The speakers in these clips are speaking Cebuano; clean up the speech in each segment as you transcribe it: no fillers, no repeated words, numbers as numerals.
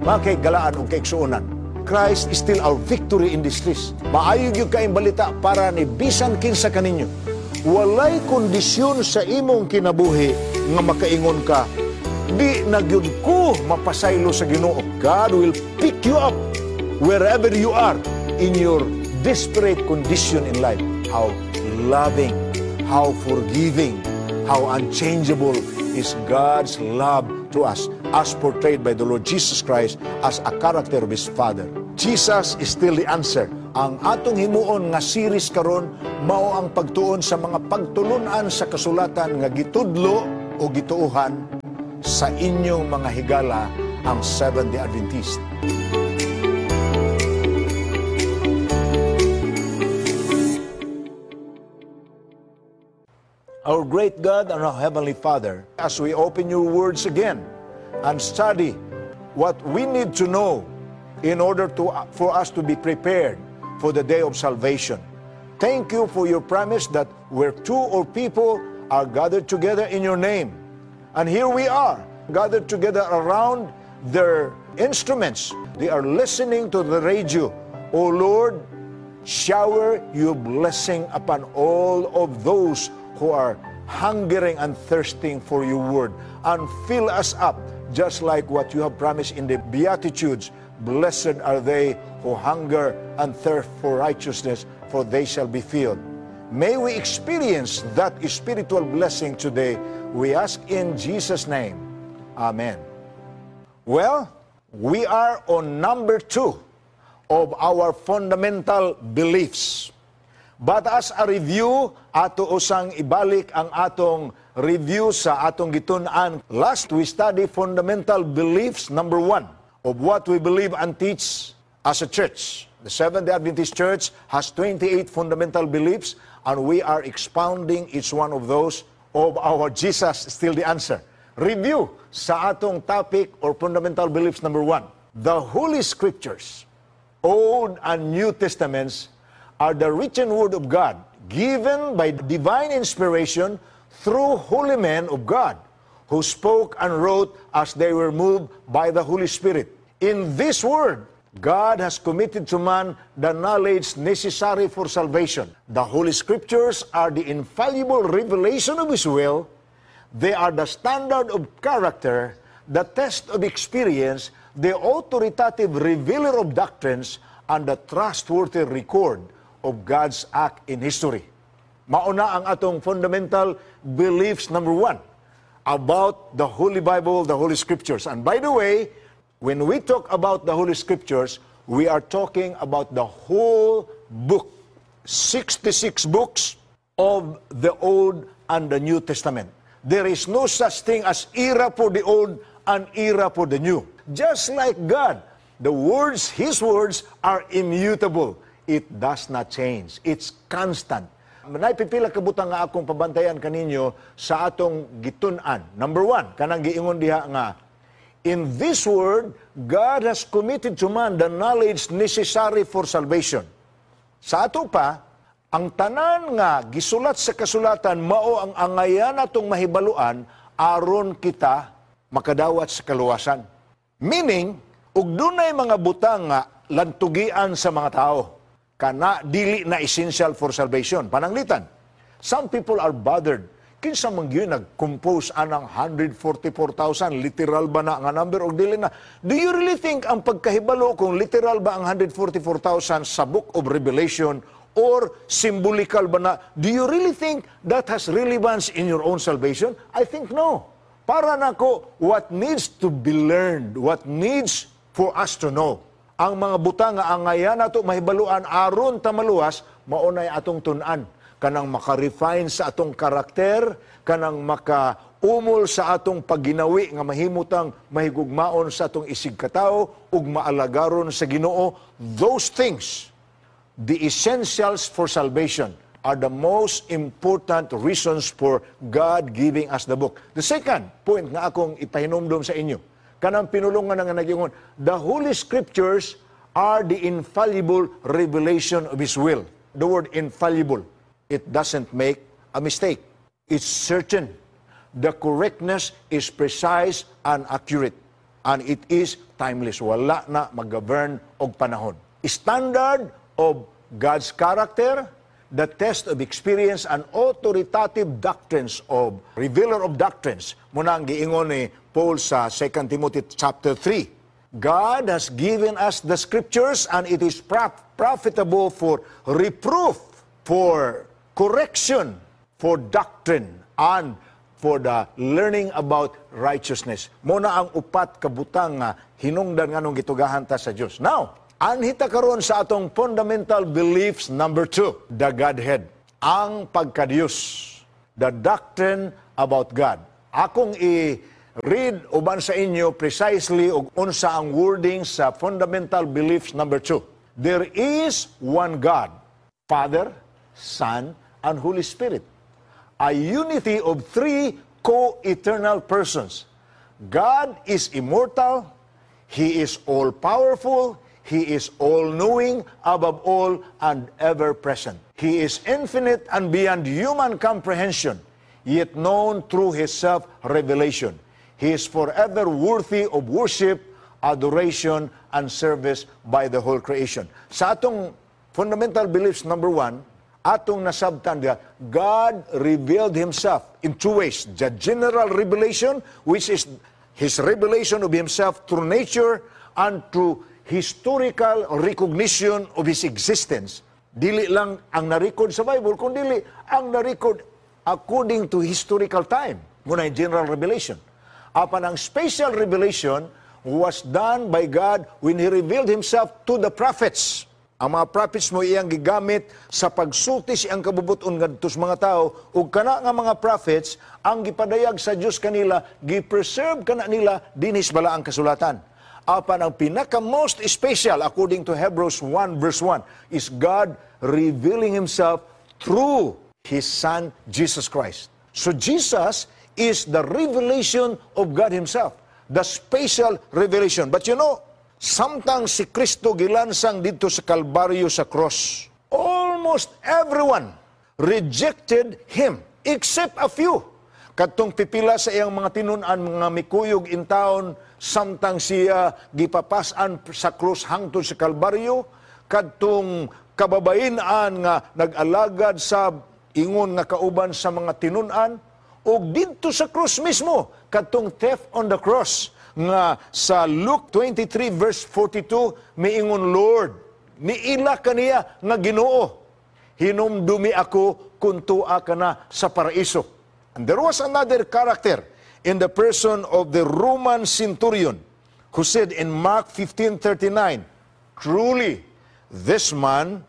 Mga kahigalaan ug kaigsuonan, Christ is still our victory in distress. Maayo gyud kaayong balita para ni bisan kinsa kaninyo. Walay kondisyon sa imong kinabuhi nga makaingon ka, "Di na gyud ko mapasaylo sa Ginoo." God will pick you up wherever you are in your desperate condition in life. How loving, how forgiving, how unchangeable is God's love to us as portrayed by the Lord Jesus Christ as a character of His Father. Jesus is still the answer. Ang atong himuon nga series karon mao ang pagtuon sa mga pagtulunan sa kasulatan nga gitudlo o gituohan sa inyong mga higala, ang Seventh-day Adventist. Our great God and our Heavenly Father, as we open your words again and study what we need to know in order for us to be prepared for the day of salvation. Thank you for your promise that where two or people are gathered together in your name. And here we are, gathered together around their instruments. They are listening to the radio. O Lord, shower your blessing upon all of those who are hungering and thirsting for your word, and fill us up just like what you have promised in the Beatitudes. Blessed are they who hunger and thirst for righteousness, for they shall be filled. May we experience that spiritual blessing today. We ask in Jesus' name. Amen. Well, we are on number 2 of our fundamental beliefs. But as a review, ato usang ibalik ang atong review sa atong gitun-an. Last, we study fundamental beliefs number 1 of what we believe and teach as a church. The Seventh-day Adventist Church has 28 fundamental beliefs, and we are expounding each one of those of our Jesus Still the Answer. Review sa atong topic or fundamental beliefs number 1. The Holy Scriptures, Old and New Testaments, are the written word of God given by divine inspiration through holy men of God who spoke and wrote as they were moved by the Holy Spirit. In this word, God has committed to man the knowledge necessary for salvation. The Holy Scriptures are the infallible revelation of His will. They are the standard of character, the test of experience, the authoritative revealer of doctrines, and the trustworthy record of God's act in history. Mauna ang atong fundamental beliefs number 1 about the Holy Bible, the Holy Scriptures. And by the way, when we talk about the Holy Scriptures, we are talking about the whole book, 66 books of the Old and the New Testament. There is no such thing as era for the old and era for the new. Just like God, the words, His words are immutable. It does not change. It's constant. Naipipila ka butang nga akong pabantayan kaninyo sa atong gitun-an. Number 1, kanang giingon diha nga, in this word, God has committed to man the knowledge necessary for salvation. Sa ato pa, ang tanan nga gisulat sa kasulatan mao ang angayan atong mahibaluan aron kita makadawat sa kaluwasan. Meaning, ug dunay mga butang nga lantugian sa mga tao, kana dili na essential for salvation. Pananglitan, some people are bothered. Kinsa man gyud nag-compose anang 144,000? Literal ba na nga number o dili na? Do you really think ang pagkahibalo kung literal ba ang 144,000 sa Book of Revelation or symbolical ba na? Do you really think that has relevance in your own salvation? I think no. Para nako, what needs to be learned, what needs for us to know, ang mga butang nga angayan nato mahibaluan aron ta maluwas, maunay atong tun-an. Kanang maka-refine sa atong karakter, kanang makaumol sa atong pagginawi nga mahimutang mahigugmaon sa atong isig katawo ug maalagaron sa Ginoo. Those things, the essentials for salvation, are the most important reasons for God giving us the book. The second point nga akong ipahinumdom sa inyo, kanang pinulungan nga nagyingon, the Holy Scriptures are the infallible revelation of His will. The word infallible, it doesn't make a mistake. It's certain. The correctness is precise and accurate. And it is timeless. Wala na mag-govern og panahon. Standard of God's character, the test of experience and authoritative doctrines of revealer of doctrines. Mao na ang giingon ni Paul sa 2 Timothy chapter 3. God has given us the scriptures and it is profitable for reproof, for correction, for doctrine, and for the learning about righteousness. Mao na ang upat ka butang nga hinungdan nganong gitugahan ta sa Dios. Now, anhi ta karon sa atong fundamental beliefs number 2, the Godhead. Ang pagkadiyos. The doctrine about God. Akong i-read uban sa inyo precisely og unsa ang wording sa fundamental beliefs number 2. There is one God, Father, Son, and Holy Spirit. A unity of three co-eternal persons. God is immortal, He is all-powerful, He is all-knowing, above all, and ever-present. He is infinite and beyond human comprehension, yet known through His self-revelation. He is forever worthy of worship, adoration, and service by the whole creation. Sa atong fundamental beliefs number 1, atong nasabtan that God revealed Himself in two ways. The general revelation, which is His revelation of Himself through nature and through historical recognition of His existence. Dili lang ang na-record sa Bible, kung dili ang na-record according to historical time. Mao na yung general revelation. Apan ang special revelation was done by God when He revealed Himself to the prophets. Ang mga prophets mao iyang gigamit sa pagsulti sa iyang kabubut-on ngadto sa mga tao, ug kana nga mga prophets ang gipadayag sa Dios kanila, gi-preserve kana nila dinhi sa balaang kasulatan. Apan ang pinaka most special, according to Hebrews 1 verse 1, is God revealing Himself through His Son Jesus Christ. So Jesus is the revelation of God Himself, the special revelation. But samtang si Kristo gilansang didto sa Kalbaryo sa cross, almost everyone rejected Him except a few. Kadtong pipila sa iyang mga tinun-an mga mikuyog in town samtang siya gipapas-an sa krus hangtod sa Kalbaryo, kadtong kababayen-an nga nag-alagad sa ingon nga kauban sa mga tinun-an, ug didto sa krus mismo kadtong theft on the cross nga sa Luke 23 verse 42 miingon, "Lord," niila kaniya nga, "Ginoo, hinumdumi ako kung tua ka na sa paraiso." And there was another character in the person of the Roman centurion who said in Mark 15:39, "Truly, this man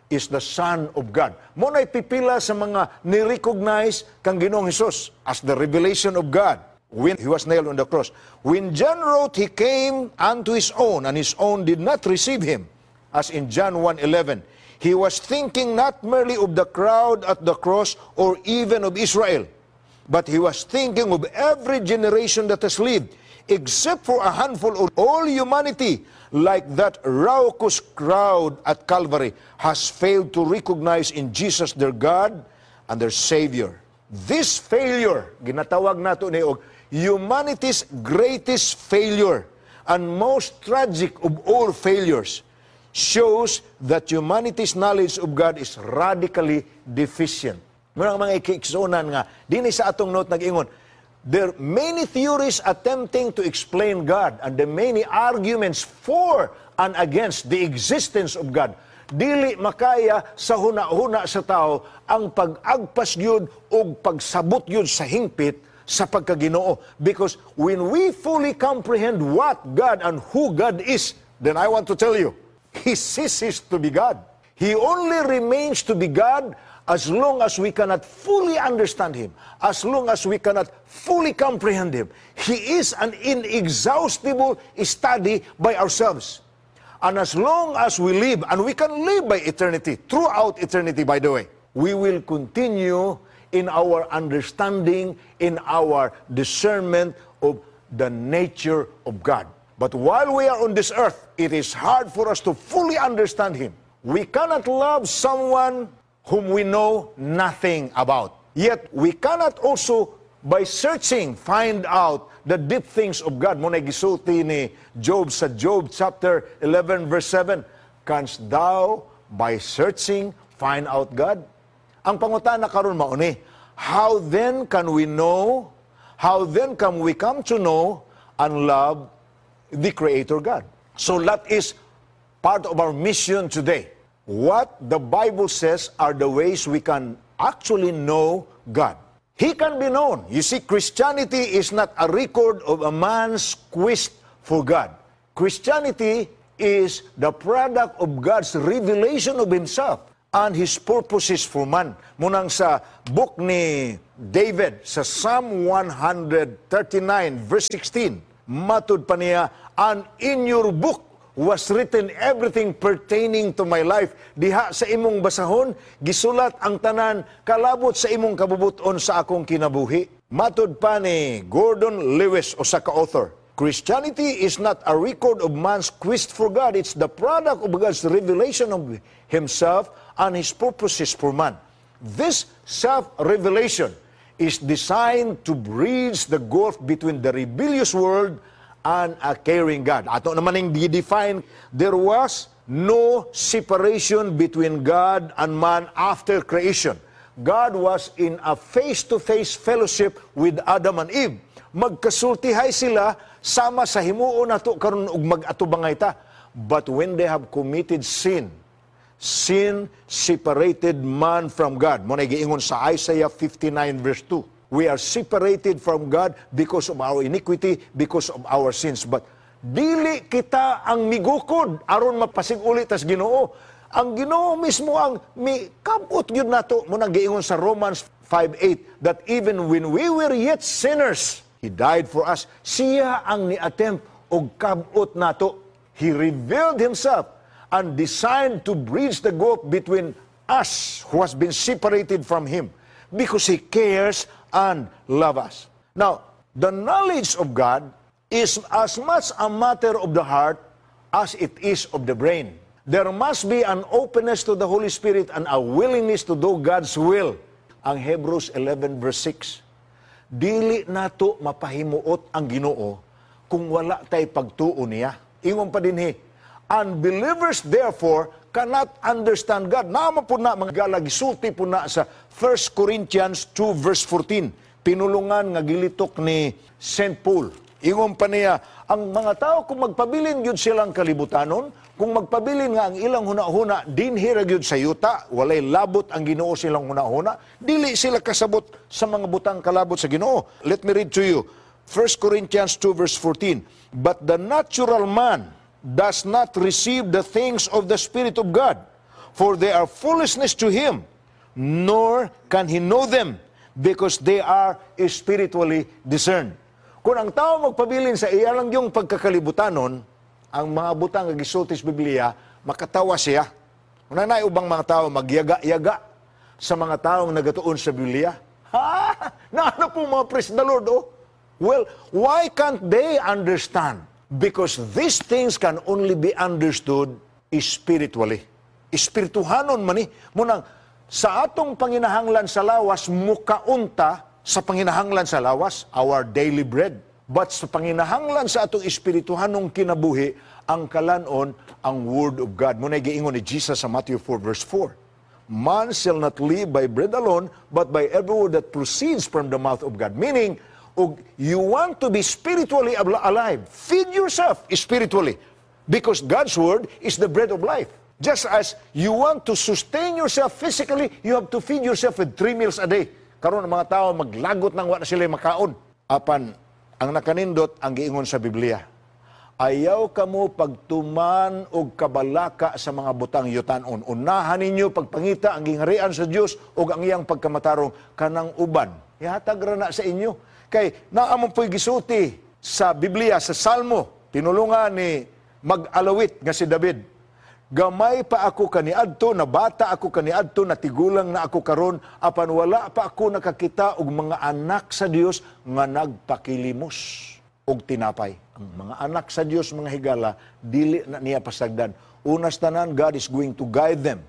is the Son of God." Mao na'y pipila sa mga ni-recognize kang Ginoong Hesus as the revelation of God when He was nailed on the cross. When John wrote, "He came unto His own, and His own did not receive Him," as in John 1:11, he was thinking not merely of the crowd at the cross or even of Israel, but he was thinking of every generation that has lived, except for a handful of all humanity, like that raucous crowd at Calvary, has failed to recognize in Jesus their God and their Savior. This failure, ginatawag nato ni og humanity's greatest failure and most tragic of all failures, shows that humanity's knowledge of God is radically deficient. Mao nang mga igsuonan nga, dinhi sa atong note nag-ingon, there are many theories attempting to explain God and the many arguments for and against the existence of God. Dili makaya sa huna-huna sa tao ang pag-agpas gyud og pagsabot gyud sa hingpit sa pagkaginoo. Because when we fully comprehend what God and who God is, then I want to tell you, He ceases to be God. He only remains to be God as long as we cannot fully understand Him, as long as we cannot fully comprehend Him. He is an inexhaustible study by ourselves. And as long as we live, and we can live by eternity, throughout eternity, by the way, we will continue in our understanding, in our discernment of the nature of God. But while we are on this earth, it is hard for us to fully understand Him. We cannot love someone whom we know nothing about. Yet we cannot also by searching find out the deep things of God? Mao na gisulti ni Job sa Job chapter 11 verse 7, "Canst thou by searching find out God?" Ang pangutana karon mao ni, how then can we know? How then can we come to know and love the Creator God? So that is part of our mission today. What the Bible says are the ways we can actually know God. He can be known. You see, Christianity is not a record of a man's quest for God. Christianity is the product of God's revelation of Himself and His purposes for man. Mao nang sa book ni David, sa Psalm 139, verse 16, matud pa niya, "And in your book was written everything pertaining to my life." Diha sa imong basahon, gisulat ang tanan kalabot sa imong kabubuton sa akong kinabuhi. Matud pa ni Gordon Lewis, usa ka author, "Christianity is not a record of man's quest for God. It's the product of God's revelation of Himself and His purposes for man. This self-revelation is designed to bridge the gulf between the rebellious world and a caring God." Ato naman yung define, there was no separation between God and man after creation. God was in a face-to-face fellowship with Adam and Eve. Magkasultihay sila sama sa himuon nato karon ug mag-atubangay ta. But when they have committed sin, sin separated man from God. Mao na giingon sa Isaiah 59 verse 2. We are separated from God because of our iniquity, because of our sins. But dili kita ang migukod aron mapasig-uli tas Ginoo. Ang Ginoo mismo ang mikabot gyud nato. Mao nang giingon sa Romans 5:8 that even when we were yet sinners, He died for us. Siya ang ni-attempt og kabot nato. He revealed Himself and designed to bridge the gulf between us who has been separated from Him because He cares and loves us. Now, the knowledge of God is as much a matter of the heart as it is of the brain. There must be an openness to the Holy Spirit and a willingness to do God's will. Ang Hebrews 11 verse 6. Dili nato mapahimuot ang Ginoo kung wala tay pagtuo niya. Ingon pa dinhi, "Unbelievers therefore cannot understand God." Naa man pud na mga higala, gisulti pud na sa 1 Corinthians 2 verse 14. Pinulungan nga gilitok ni St. Paul. Ingon pa niya, ang mga tao kung magpabilin gyud silang kalibutanon, kung magpabilin nga ang ilang huna-huna dinhi ra gyud sa yuta, walay labot ang Ginoo silang huna-huna, dili sila kasabot sa mga butang kalabot sa Ginoo. Let me read to you. 1 Corinthians 2 verse 14. "But the natural man does not receive the things of the Spirit of God, for they are foolishness to him, nor can he know them, because they are spiritually discerned." Kung ang tao magpabilin sa iya lang yung pagkakalibutanon, ang mga butang nga gisulti sa Biblia, makatawa siya. Una na ubang mga tao magyaga-yaga sa mga taong nagatuon sa Biblia. Ha? Naano po mga praise the Lord, oh? Well, why can't they understand? Because these things can only be understood spiritually. Espirituhanon man ni. Mao nang, sa atong panginahanglan sa lawas, mukaunta sa panginahanglan sa lawas, our daily bread. But sa panginahanglan sa atong espirituhanong kinabuhi, ang kalanon, ang Word of God. Mao na giingon ni Jesus sa Matthew 4 verse 4. "Man shall not live by bread alone, but by every word that proceeds from the mouth of God." Meaning, og you want to be spiritually alive, feed yourself spiritually. Because God's Word is the bread of life. Just as you want to sustain yourself physically, you have to feed yourself with three meals a day. Karon ang mga tao maglagot nang wa na sila makaon. Apan ang nakanindot ang giingon sa Biblia. "Ayaw kamo pagtuman og kabalaka sa mga butang yutanon. Unahan ninyo pagpangita ang gingharian sa Dios ug ang iyang pagkamatarong, kanang uban ihatag ra na sa inyo." Kay naa man po'y gisulti sa Biblia sa Salmo, tinulungan ni mag-alawit nga si David. "Gamay pa ako kaniadto, nabata ako kaniadto, natigulang na ako karon, apan wala pa ako nakakita og mga anak sa Dios nga nagpakilimos og tinapay." Ang mga anak sa Dios, mga higala, dili na niya pasagdan. Unas tanan, God is going to guide them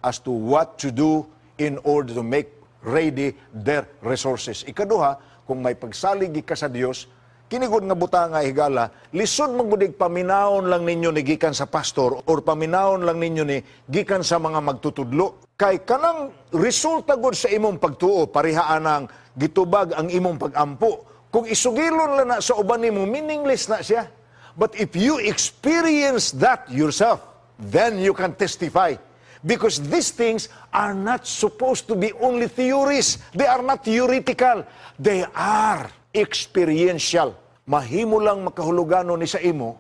as to what to do in order to make ready their resources. Ikaduha, Kung may pagsalig ka sa Dios, kini gud nga butang nga, higala, lisod man gud paminawon lang ninyo ni gikan sa pastor or paminawon lang ninyo ni gikan sa mga magtutudlo. Kay kanang resulta gud sa imong pagtuo, pareha anang gitubag ang imong pagampo. Kung isugilon lang na sa uban nimo, meaningless na siya. But if you experience that yourself, then you can testify. Because these things are not supposed to be only theories. They are not theoretical. They are experiential. Mahimo lang makahulugano ni sa imo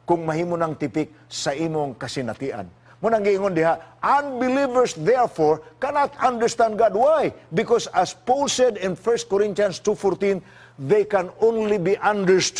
kung mahimo ng tipik sa imong kasinatian. Mao nang giingon diha, unbelievers therefore cannot understand God. Why? Because as Paul said in 1 Corinthians 2:14, they can only be understood